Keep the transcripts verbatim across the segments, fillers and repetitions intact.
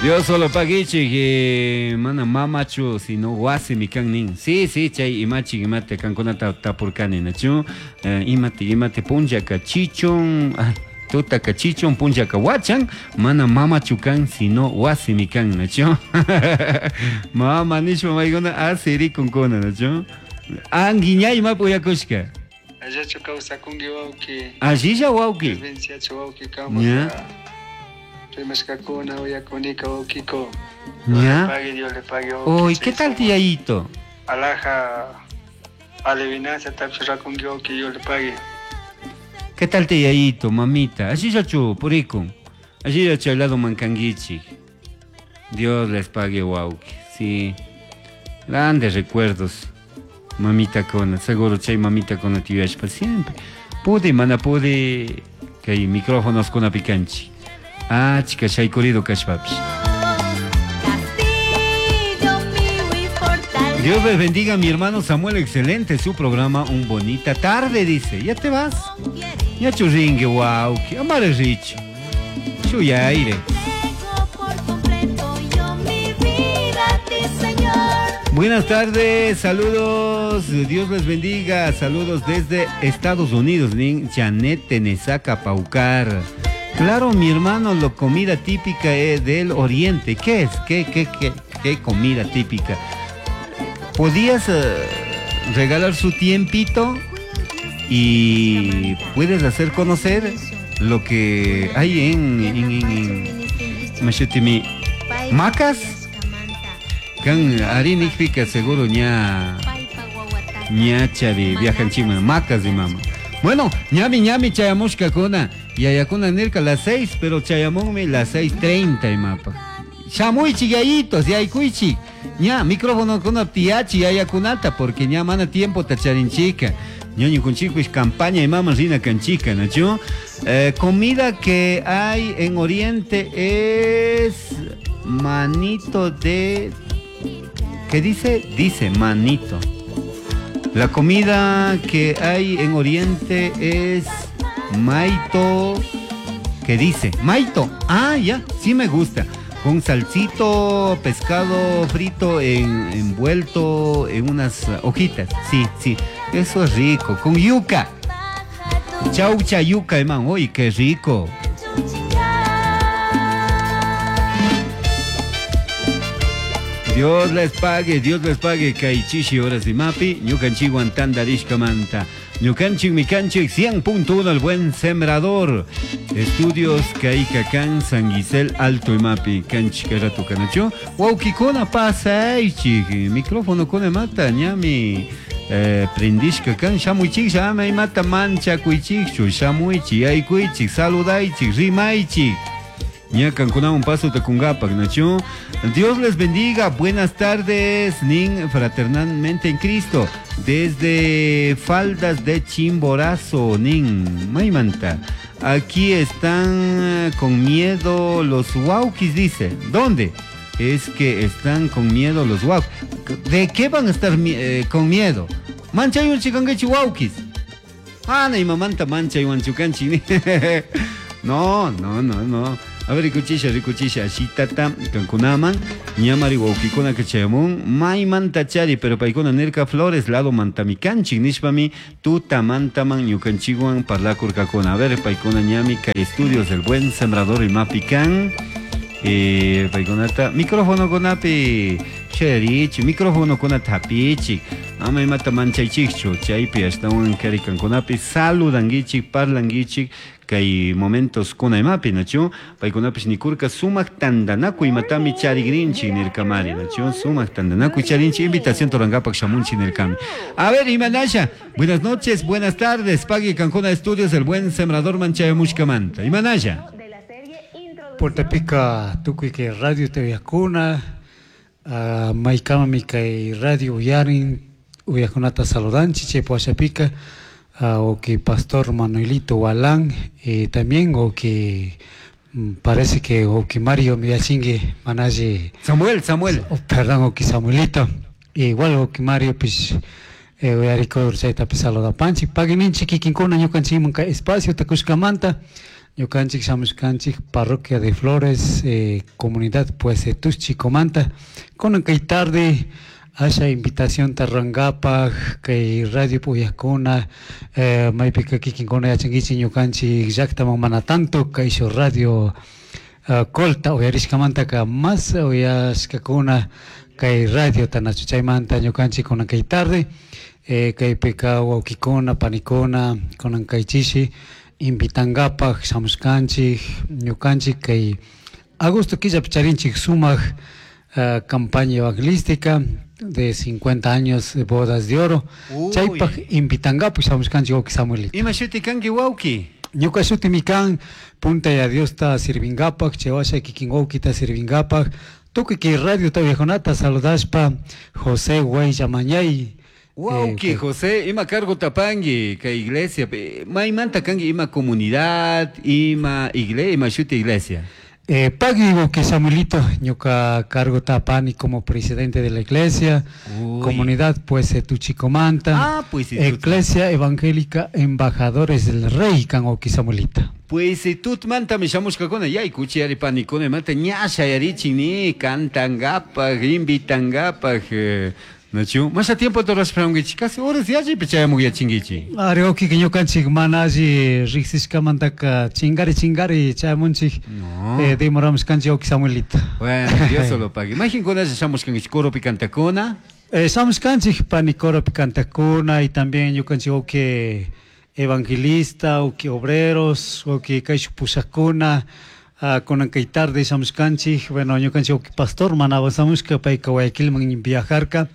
Dios solo paguichik, eh, mana mamachu, sino wasimi kan nin. Sí, sí, chay imachik imate kankunata tapurkani, nachu? Eh, imate imate punllaka chichun, ay, tutaka chichun punllaka wachan, mana mamachu kan, sino wasimi kan, nachu? Mama nishpa maykuna asirikunkuna, nachu? Anguiñay imapi uyakushka. Allachu kawsakunki wawki. Allilla wawki. Provinciachu wawki kama. Ña. Rimashkakuna uyakunika wawkiko. Ña. Pagui, Dios le pague wawki. Uy, ¿qué tal tiyayito? Alaja alivinancia tapshurakunki wawki, Dios le pague. ¿Qué tal tiyayito, mamita? Allillachu purikun. Allillachu al lado mankanguichik. Dios les pague wawki. Sí. Grandes recuerdos. Mamita con, seguro chay mamita con tiyashpa siempre. Pude, mana pude, kay micrófonos con apicanchi. Ah, chica, shaykurido kashpapish. Dios les bendiga, mi hermano Samuel, excelente su programa, un bonita tarde, dice. ¿Ya te vas? Ya churringue, guau, que amare richo. Chuyaire. Buenas tardes, saludos, Dios les bendiga, saludos desde Estados Unidos, nin Janet Tenesaca Paucar. Claro, mi hermano, la comida típica es del Oriente. ¿Qué es? ¿Qué, qué, qué, qué comida típica? ¿Podías eh, regalar su tiempito y puedes hacer conocer lo que hay en, en, en, en Machutimi? ¿Macas? Kan arinikpika seguro ña ñachari viajan chima macas y mama. Bueno, ñami ñami chayamushkakuna yayakuna nirka las seis, pero chayamunmi las seis treinta y mapa. Shamuichi yayitos, yaykuichi. Ña micrófono kuna tiachi yayakunata porque ña mana tiempo tacharinchika. Ñoño kunchikuis campaña y mama rina canchica, ¿no? Eh, comida que hay en Oriente es manito de... ¿Qué dice? Dice manito. La comida que hay en Oriente es maito. ¿Qué dice? Maito. Ah, ya, sí me gusta. Con salsito, pescado frito en, envuelto en unas hojitas. Sí, sí, eso es rico. Con yuca. Chaucha yuca, hermano. Uy, qué rico. Dios les pague, Dios les pague, kaychishi horas y mapi, ñukanchikwan tantarishkamanta. Ñukanchik mikanchik cien punto uno, el buen sembrador. Estudios Kaikakán, San Gisel, Alto y Mapi, kanchik rato kanacho. Wawkikuna pasaychik, micrófono kuna mata, ñami eh, prendishka kan, shamuychik, shamay mata manchakuychikchu, shamuychik, yaykuychik, saludaychik, rimaychik. Ñakankunawan paso takungapak, nacho. Dios les bendiga, buenas tardes, nin fraternalmente en Cristo, desde Faldas de Chimborazo, nin maymanta. Aquí están con miedo los wauquis, dice. ¿Dónde? Es que están con miedo los wauquis. ¿De qué van a estar eh, con miedo? Manchayun chikanguichi wauquis. Ana y mamanta manchayuan chukanchi. No, no, no, no. A ver, rikuchisha, rikuchisha, ashitata, kankunaman, ñamari wawkikuna kachayamun, maymanta chari, pero paykuna nirka flores, lado mantamikanchik, nishpami, tuta mantaman, ñukanchikwan parlakurkakuna. A ver, paykuna ñami, kay estudios del buen sembrador y mapikan, eh, paykunata, micrófono kunapi, cherichi, micrófono kuna tapichik, ama imata manchaychikchu, chaypi ashtawan kari kankunapi, saludanguichik, parlanguichik, kay momentos kuna imapi, nachu, paykunapish nikurka sumak tandanakuy imatami charigrinchik nirkamari, nachu, sumak tandanakuy charinchik, invitación torangapak shamunchik nirkami. A ver, Imanasha, buenas noches, buenas tardes, pague Cancuna Estudios, el buen sembrador manchayamushkamanta. Imanasha. Puerta tukuy kay radio T V Cuna, uh, maykama mi kay radio uyarin, uyakunata saludanchi, chay puashapika, uh, o que Pastor Manuelito Walán, eh, también o que parece que o que Mario Miyachingue manaje Samuel, Samuel. Oh, perdón, o que Samuelito, igual o que Mario pues eh, uyariko chaytapi saludapanchik, paguininchik kikinkuna ñukanchikman kay espacio takushkamanta. Ñukanchik shamushkanchik Parroquia de Flores, eh, comunidad pues Tuschicomanta. Kunan kay tarde asha invitación tarrangapaj kay radio uyakuna eh, maypika kikinkuna yachankichik ñukanchik llaktaman mana tanto kay shu radio uh, colta uyarishkamantaka mas uyashkakuna kay radio tanachu chaymanta ñukanchik kunan kay tarde eh, kaypika wawkikuna panikuna kunan kay chishi invitangapaj shamushkanchik ñukanchik kay agosto killapi charinchik sumak uh, campaña evangelística de cincuenta años de bodas de oro. Chaypaj invitangapaj shamushkanchik wawki Samuelito. Ima shuti kanki wawki? Ñuka shutimi kan punta ya Diosta sirvingapaj, chaywasha kikin wawkita sirvingapaj, tukuy kay radio tawyakunata saludashpa José Guayllamañay. Wawki eh, José, ima cargo tapangi kay iglesia, maymanta kanki ima comunidad, ima iglesia, ima shuti iglesia. Eh, pagui wawki Samuelito, ñuka cargo tapani como presidente de la iglesia, Uy. Comunidad pues Tuchicomanta, ah, pues, Iglesia Evangélica Embajadores del Rey kan wawki Samuelito. Pues tutmanta mi shamushkakuna yaykuchi ari panikuna manta ña shayarichin ni cantangapaj, invitangapaj. Eh, Nachu, masha tiempo torashpankichik, casi horas yalli chayamuq yachinkichik. Ari wawkika ñukanchik mana alli riqsishkamantaka chingari chingari chayamunchik. No. Eh, demoramushkanchik wawki Samuelito. Bueno, Dios solo pague. Mayqinkunalla shamushkankichik coropi cantakuna? Eh, shamushkanchik pani coropi cantakuna y también ñukanchik wawki evangelista, wawki obreros, wawki kayshuk pushakuna. Uh, kunan kay tarde shamushkanchik, bueno, ñukanchik wawki pastor mana avanzamushka payka Guayaquilman viajarka.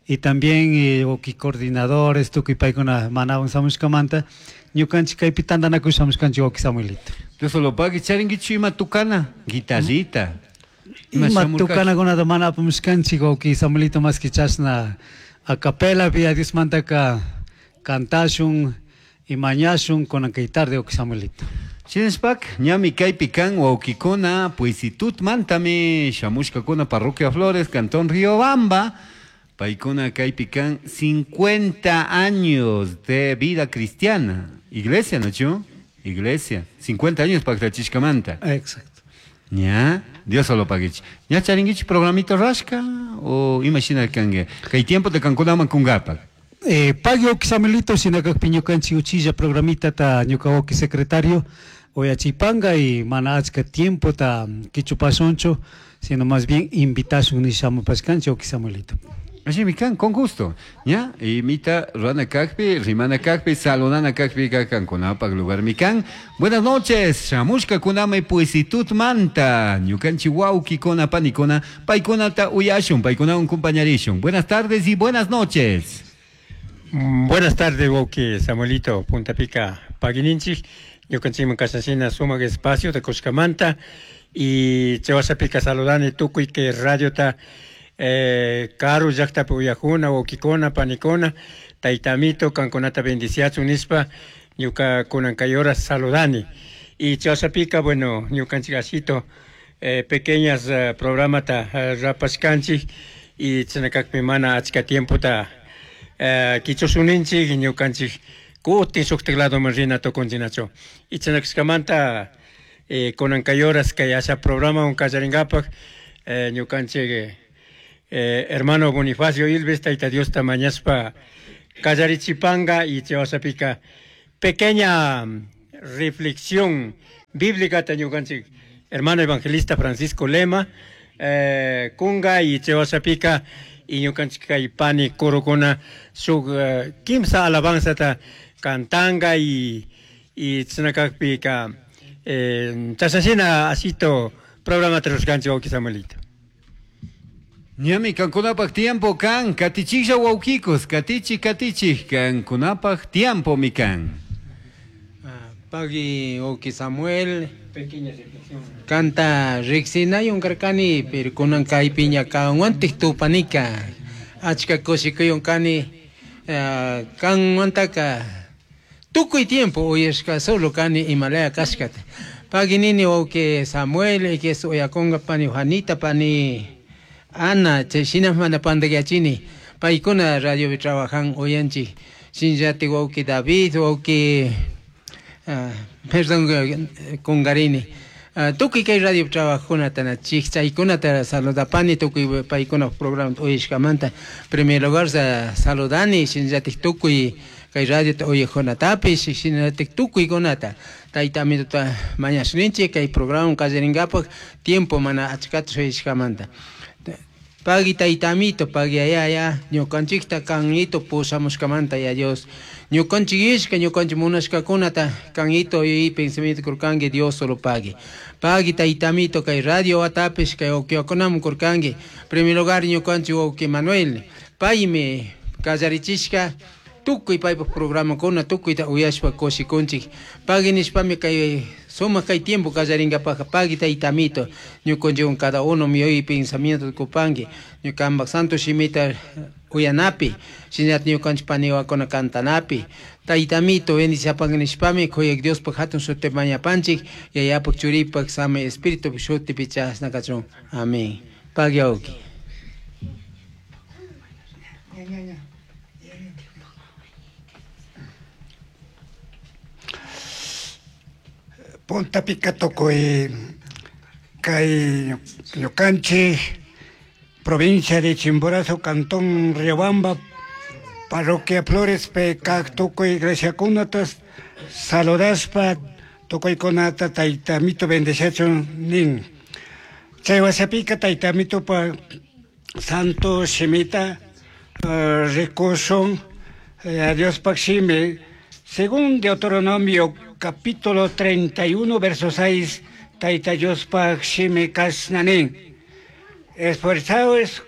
Y también eh, wawki coordinadores, tukuy paykuna mana avanzamushkamanta, ñukanchik kaypi tantanakush shamushkanchik wawki Samuelito. Dios solo pague, charinkichu ima tukana, guitarrita. Ima tukanakunata mana apamushkanchik wawki Samuelito, más que chashna a capela vía Diosmantaka kantashun y mañashun kunan kay tarde wawki Samuelito. Shinashpak, ñami kaypi kan wawkikuna, Puisitutmantami shamushkakuna Parroquia Flores, Cantón Riobamba. Paykuna kaypi kan cincuenta años de vida cristiana. Iglesia, ¿no? Iglesia. cincuenta años paktachishkamanta. Exacto. Ña, Dios solo paguich. Ña charinguich programito rashka o imagina kangue. Kay tiempo te kankunaman kungapak. Eh, pagui wawki Samuelito, shinakakpi ñukanchik uchilla programita ta ñuka wawki secretario oyachipanga y mana achka tiempo ta kichupashunchu, sino más bien invitashun nishamupashkanchik wawki Samuelito. Así mi kan, con gusto. ¿Ya? Y mita rana kakpi, rimana kakpi, saludana kakpi, kankunapak lugar mi kan. Buenas noches, shamushka kuname Puisitut manta, ñukanchi wawki kona panikona, paykunata uyashun, paykuna un compañarishun. Buenas tardes y buenas noches. Buenas tardes, wawki Samuelito, Punta Pica, pagininchik, ñukanchikman kashashina sumak espacio de Cuscamanta y chawasapika saludani tukuy que radiota eh, karu llaqtapi uyajuna, wawkikuna, panikuna, taytamito, kankunata bendiciachun nispa, ñuka kunan kay horas saludani. Y chawasapika, bueno, ñukanchik asito, eh, pequeñas eh, programata eh, rapashkanchik y chinakakpi mana achka tiempota eh, kichusuninchik, ñukanchik kutin shuktik ladoman rina tukunchinachu. Y chinakashkamanta eh, kunan kay horas kay asha programa kallarinkapak eh, ñukanchik eh, hermano Bonifacio Ilves, tayta Diosta mañaspa kallarichipanga y chawasapika pequeña reflexión bíblica ta ñukanchik hermano evangelista Francisco Lema eh, kunga y chawasapika y ñukanchik kay pani korokuna shuk uh, kimsa alabanzata cantanga y y chinakakpika eh, chashashina asito programa rushkanchik wawki Samuelito. Ñami kankunapaj tiempo kan, katichiklla wawkikos, katichi katichik, kankunapaj tiempo mi kan. Pagui wawki Samuel, kanta riqsinayun karkani, pero kunan kaypiña kanwantik tupanika, achka kushikuyun kani, uh, kanwantaka tukuy tiempo uyashka solo kani imalaya kashkata. Pagui nini wawki Samuel, ikes uyakunga pani Juanita, pani Ana, chay mana pandagachini, paykuna radiopi trabajan uyanchik, shinllati wawki David, wawki Perdón, kungarini. Tukuy kay radio trabajkunata na chikchaykunata saludapani tukuy paykuna programa uyashkamanta. Primer lugar saludani shinallatik tukuy kay radiota uyajkunatapish shinallatik tukuykunata. Tayta amituta mañashninchik kay programa qallarinkapak tiempo mana achkata shuyashkamanta. Pagui tayta amito, pagui ayaya, ñukanchikta kanito pusamushkamanta ya Dios. Ñukanchik ishka, ñukanchik munashkakunata kanito y pensamiento kurkanki Dios solo pagui. Pagui tayta amito kay radio atapish kay ukiwakunaman kurkanki. Primer lugar ñukanchik wawqi Manuel, paymi kallarichishka tukuy paypaj programakuna tukuyta uyashpa kushikunchik. Pagui nishpami kay sumaq kay tiempo kallarinkapajka pagui tayta amito ñukanchikwan cada uno mi pensamiento kupanki ñukanpak santo shimita uyanapi shinallat ñukanchik paniwakuna cantanapi. Tayta amito bendiciapanki nishpami kuyak Diospaj hatun sutipi mañapanchik yayapak churipak sami espíritu shutipi chashna kachun. Amén. Pagui wawqi. Punta pica tukuy kay ñukanchik provincia de Chimborazo, cantón Riobamba, parroquia Flores, kak tukuy iglesiakunatas saludashpa tukuykunata tayta amito bendeciachun nin. Chay wasapika tayta amitopa santo shimita uh, rikushun uh, Diospak shimi según Deuteronomio capítulo treinta y uno, verso seis, Tayta Diospaj shimi kashnanin. Esforzaos,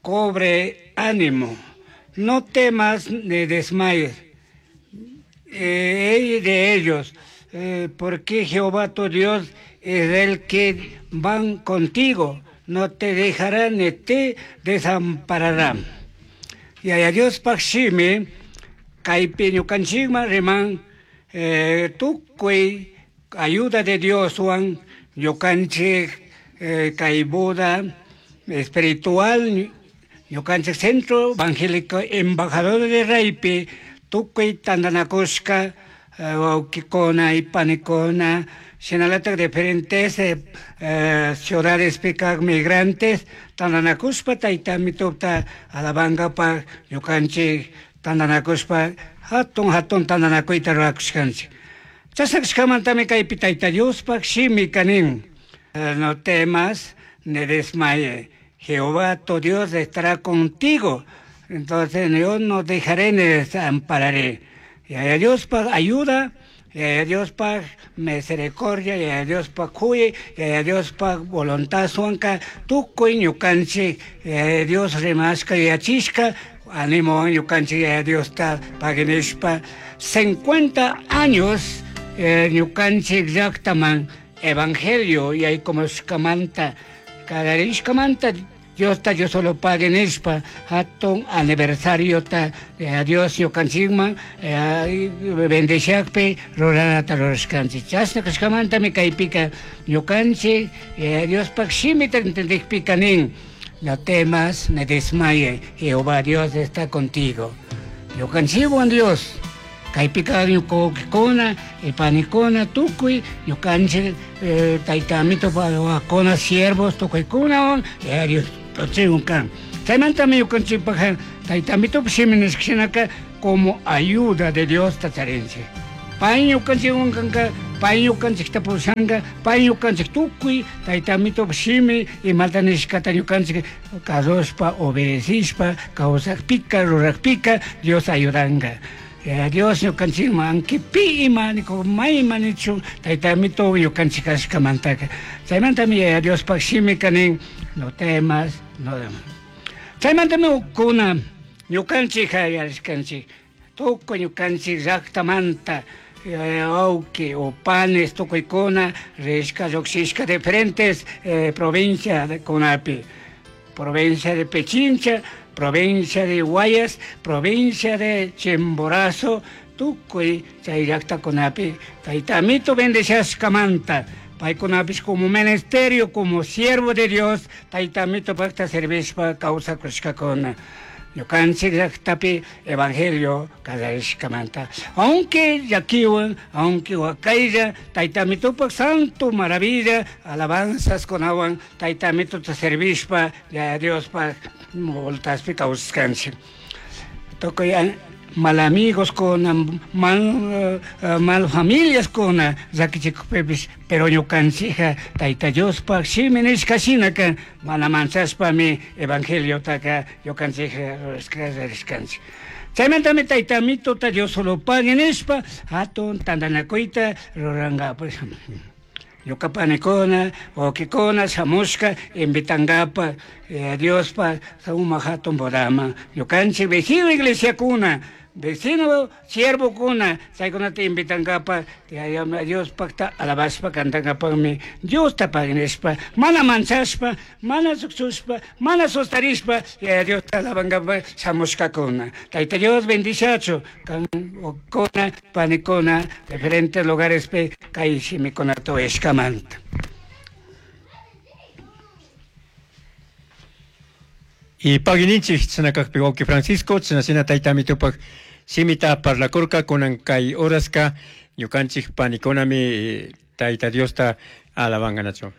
cobre ánimo, no temas ni desmayes eh, de ellos, eh, porque Jehová tu Dios es el que van contigo, no te dejará ni te desamparará. Y a Diospaj shimi, kaypi ñukanchikman riman, Eh, tukuy ayuda de Dios wan ñukanchik eh, kay Buda espiritual ñukanchik centro evangélico embajador de Raypi tukuy tantanakushka wawqikuna y panikuna shinalatak diferentes eh, eh, ciudades kaq migrantes tantanakushpa tayta amitupta alabankapaq ñukanchik tantanakushpa hatun hatun tantanakuyta rurakushkanchik. Chashna kashkamantami kaypi Tayta Diospaj shimi kanin. No temas ni desmayes. Jehová tu Dios estará contigo. Entonces yo no dejaré ni desampararé. Y a Diospaj ayuda, y a Diospaj misericordia, y a Diospaj cuye, y a Diospaj voluntad suanka, tukuy ñukanchik, Dios rimashka yachishka, animo ñukanchik a Dios ta paginishpa cincuenta años ñukanchik llaqtaman evangelio y hay como shkamanta kadarishkamanta Dios ta yo solo paginishpa hatun aniversario ta Dios ñukanchikman bendiciakpi ruranata rurashkanchik. Chashna kashkamantami kaypika ñukanchik Diospaj shimita entendikpika nin. No temas ni desmayes, Jehová Dios está contigo. Ñukanchikwan Dios, kaypika ñuqukuna, panikuna, tukuy, ñukanchik tayta amito wawakuna, siervos, tukuykunawan, Dios tochikun kan. Chaymantami ñukanchikpaj tayta amitopa shimi nishkashinaka como ayuda de Dios tacharinchik. Pay ñukanchikwan kanka, pay ñukanchikta pushanka, pay ñukanchik tukuy tayta amitopa shimi imata nishkata ñukanchik kasushpa, obedecishpa, kawsakpika, rurakpika, Dios ayudanka. Dios ñukanchikman anki pi ima may ima nichun tayta amito ñukanchik kashkamantaka. Chaymantami Diospaj shimika nin, no temas, no temas. Chaymantami ukuna ñukanchik yarishkanchik, tukuy ñukanchik llaqtamanta wawqi o panes tukuykuna rishka lluqshishka diferentes eh, provincia de kunapi, provincia de Pichincha, provincia de Guayas, provincia de Chimborazo, tukuy chay llaqtakunapi tayta amito bendeciashkamanta paykunapis como ministerio, como siervo de Dios, tayta amito paqta servishpa kawsakushkakuna. Ñukanchik llaqtapi evangelio qallarishkamanta. Aunque llakiwan, aunque wakaylla, Tayta Amitupak santo maravilla, alabanzas kunawan, Tayta Amituta servishpa, Yaya Diospaj voltaspi kawsashkanchik. Tukuy mal amigos kuna, mal, uh, mal familias kuna, llakichikukpipis, pero ñukanchikka Tayta Diospaj shimi nishka shinaka, mana manchashpami evangeliotaka ñukanchikka rurashka rurashkanchik. Chaymantami Tayta Amituta Dios solo pagui nishpa, hatun tantanakuyta rurankapak. Ñuka panikuna, wawqikuna shamushka invitankapa eh, Diospa sumak hatun bodaman. Ñukanchik vecino iglesiakuna, vecino siervokuna, chaykunata invitankapa, Diospakta alabashpa cantankapakmi Diosta pagui nishpa, mana manchashpa, mana suksushpa, mana sustarishpa, Yaya Diosta alabankapa shamushkakuna. Tayta Dios bendiciachu, kan wawqikuna, panikuna, diferentes lugarespi kay shimikunata uyashkamanta. Y pagininchik chinakakpi wawqi Francisco, chinashina Tayta Amitupak shimita parlakurka kunan kay horaska ñukanchik panikunami Tayta Diosta alabankanachu.